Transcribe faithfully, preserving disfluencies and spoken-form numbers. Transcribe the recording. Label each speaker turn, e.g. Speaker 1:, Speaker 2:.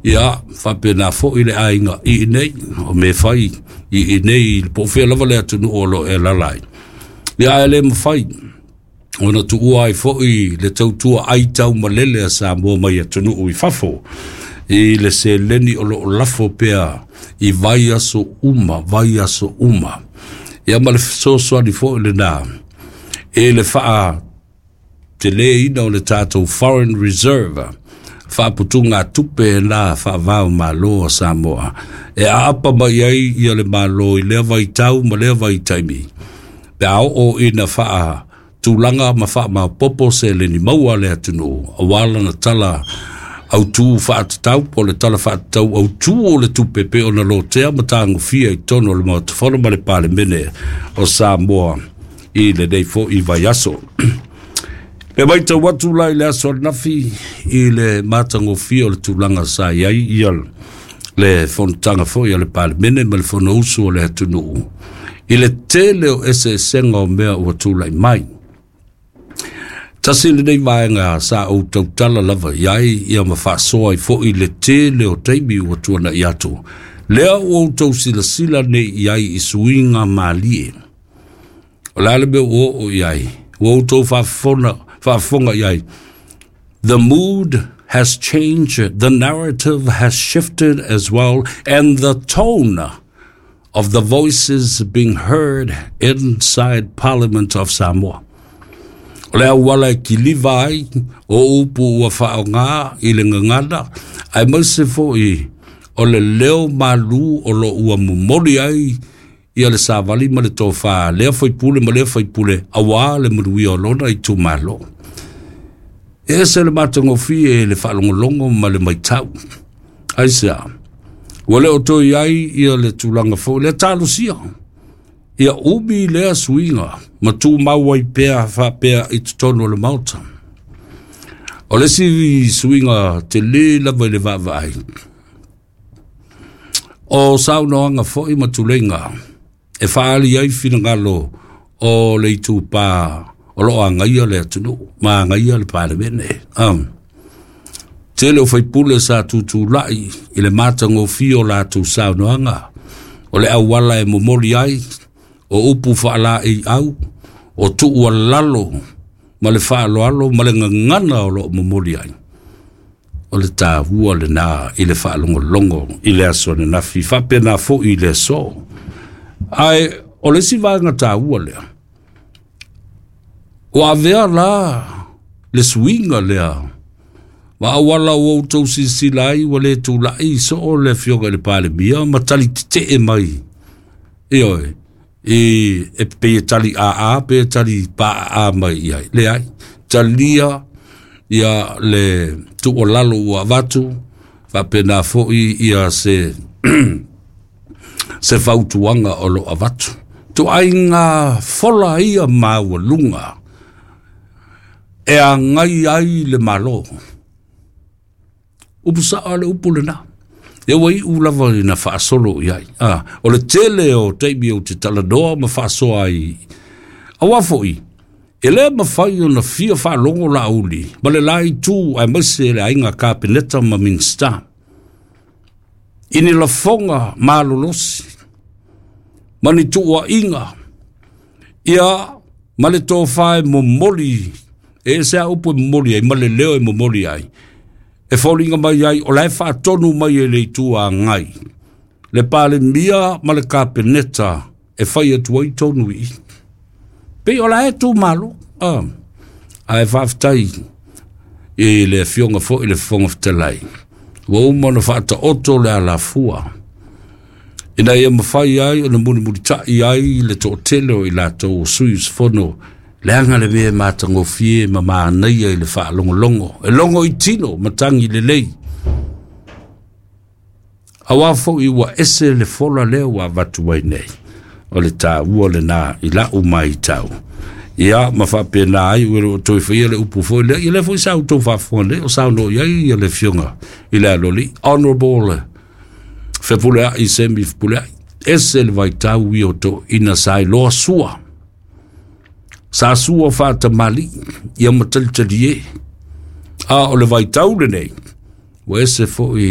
Speaker 1: Ia faapena foʻi le aiga i inei o me fai i inei i po o fea lava le atunuu o lo o e alaala ai. Ia ae le mafai ona tuua ai foʻi le tautua aitaumalele a Samoa mai atunuu i fafo i le seleni o loo lafo pea i vaiaso uma, vaiaso uma. Ia ma le fesoasoani foʻi lenā i le faateleina o le tatou foreign reserve, faaputugatupe la faavao malo a Samoa e aapa mai ai ia le Malo i lea vaitau ma lea vaitaimi pe a oo ina faa tulaga ma faamaopoopo seleni maua a le atunuu auā lana tala autū faatatau po o le tala faatatau autū o le tupe pe ona lotea ma tagofia i totonu o le Maota Fono ma le Palemene o Samoa i lenei foʻi vaiaso. E matau atu la i le aso ananafi i le matagofie o le tulaga sa i ai ia le fonotaga foi a le Palemene ma le Fonousu o le atunuu i le tele o eseesega o mea ua tulai mai. Tasi lenei vaega sa ou tautala lava i ai ia ma faasoa ai foʻi le tele o taimi ua tuanaʻi atu. Lea ua outou silasila nei i ai i suiga malie. O le a le mea ua oo i ai? Ua outou faafofona, faafofoga i ai. The mood has changed, the narrative has shifted as well, and the tone of the voices being heard inside Parliament of Samoa. O le auala e kiliva ai o upu ua faaaogā i le gagana, aemaise foʻi o le leo malū o lo ua momoli ai ia le savali ma le tofā lea faipule ma lea faipule auā le manuia o lona itumalo. E ese le matagofie le faalogologo ma le matau. Aisea? Ua le o toe i ai ia le tulaga foi lea talosia ia umi lea suiga ma tumau ai pea faapea i totonu o le Maota. O le isi suiga telē lava i le vaavaai o saunoaga foʻi ma tuleiga e faaali ai finagalo o le itupā o loo agaia le atunuu ma agaia le Palemene. Um, tele o faipule sa tutulai i le matagofie o latou saunoaga o le auala e momoli ai o upu faalaeiau o tuualalo ma le faaaloalo ma le gagana o loo momoli ai. O le tāua lenā i le faalogologo i le aso ananafi faapena foʻi i le aso. Ae o le isi vaega taua lea ua avea la le suiga lea ma auala ua outou silasila ai ua le tulaʻi soo le afioga i le Palemia ma tali tetee mai, ioe, i e pei e tali aa pe tali paaa mai i ai. Leai, talia ia le tuualalo ua avatu faapena foʻi ia se se fautuaga o loo avatu tuaiga fola ia maualuga e agai ai le Malo. Upu saʻo le upu lenā e ua iʻu lava ina faasolo i ai. Ah, o le tele o taimi ou te talanoa ma faasoa ai auā foʻi e lē mafai ona fia faalogo lauli ma le la itu aemaise le aiga Kapeneta ma Minisita i ni lafoga malolosi ma ni tuuaʻiga ia ma le tofā e momoli e ese a upu e momoli ai ma le leo e momoli ai e foliga mai ai o lae faatonu mai e le itu agai le Palemia ma le Kapeneta e fai atu ai tonu i pei o lae tumalo. Ah, ae faafetai i le afioga foʻi le Fofoga Fetalai ua uma ona faataoto le alafua ina ia mafai ai ona mulimulitaʻi ai le toʻatele o i latou o sui usufono leaga le mea e matagofie ma manaia i le faalogologo e logo i tino matagi lelei auā foʻi ua ese le fola lea ua avatu ai nei. O le tāua lenā i lau matau ia ma faapena ai ua loo toe faia le upu foi lea ia lea foi sa outou faafofoga nei o saunoa i ai ia le afioga i le aloli Honorable Fepuleai Semi Fepuleai. Ese le vaitau ia o toʻina sa iloa sua sa sua faatamaliʻi ia ma talitali e a o le vaitau lenei ua ese foʻi.